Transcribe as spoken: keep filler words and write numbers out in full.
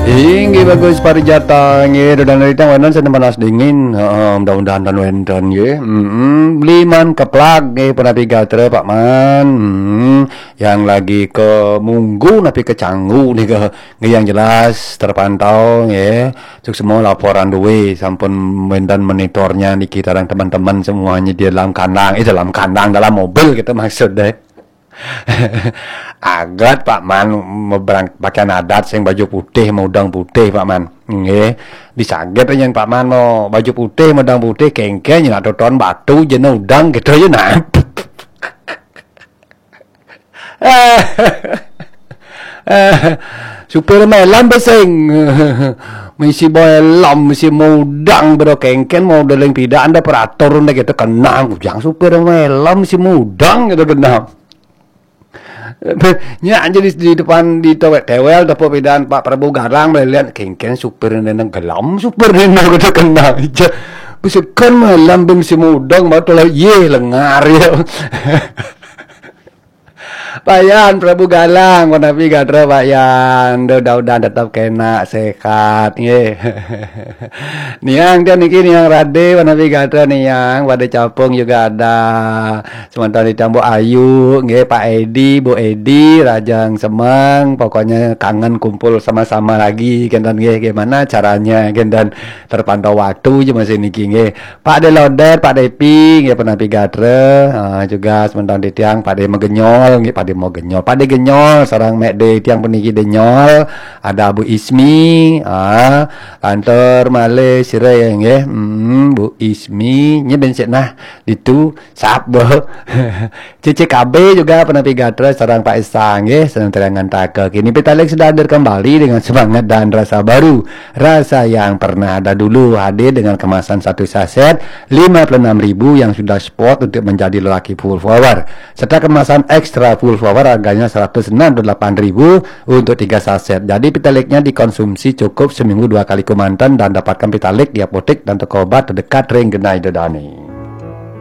Inggih bagus parijata nggih, ida dané titiang wénten sané panas dingin. Heeh, mudah-mudahan tan wénten nggih. Mm-mm. Beli man keplag nggih, punapi gatra Pak Man. Mm-mm. Yang lagi ke Munggu napi ke Canggu nika nggih, yang jelas terpantau nggih. Suksma laporan duwé, sampun wénten monitornya niki, sareng teman-teman semuanya di dalam kandang, eh, dalam kandang, dalam mobil gitu maksudnya. Aget Pak Man, mebrang pakaian adat sing baju putih, maudang putih Pak Man. Nggih. Disaget yén Pak Man mau baju putih, maudang putih, kéngkén nak toton batu jena udang gitu ya nah. Supir mélam beseng. Misi helm, misi maudang, bedo kéngkén mau deling pidan, ada peratur, ada gitu kenang. Ujang supir mélam, misi maudang gitu kenang. Nyak jadi di depan di tewel, tewel depan pidan Pak Prabu Garang, melihat kéngkén supir nang gelam, supir nang gitu kenang. Ija, besekan mélam bim si maudang, mau tolak, ye, lengar ya. Pak Yan, Prabu Galang, punapi gatra Pak Yan. Duh, mudah-mudahan tetap kena sehat, nggih. Niang tiang niki, Niang Rade, punapi gatra Niang, pada capung juga ada. Sementara di Bu Ayu, nggih, Pak Edi, Bu Edi, Rajang Semeng, pokoknya kangen kumpul sama-sama lagi, kénten nggih, gimana caranya, kénten terpantau waktu aja masih niki nggih. Pak De Lodet, Pak Depi, nggih, punapi gatra. Ah, juga sementara di tiang Pak De Megenyol, nggih, Pak De Megenyol. Pak De Genyol, sareng Mek De tiang puniki Denyol. Ada Bu Ismi, ah, lantur malih sira nggih. Hmm, Bu Ismi, nggih ben sik nah ditu sap, Bu. C C K B juga punapi gatra sareng Pak Esa nggih, sareng terangan taka. Kini Pitaleg sudah hadir kembali dengan semangat dan rasa baru. Rasa yang pernah ada dulu hadir dengan kemasan satu saset lima puluh enam ribu yang sudah spot untuk menjadi lelaki full power. Serta kemasan ekstra full power harganya seratus enam puluh delapan ribu untuk tiga saset. Jadi Pitalegnya dikonsumsi cukup seminggu dua kali kemanten dan dapatkan Pitaleg di apotek dan toko obat terdekat ring genah ida dané.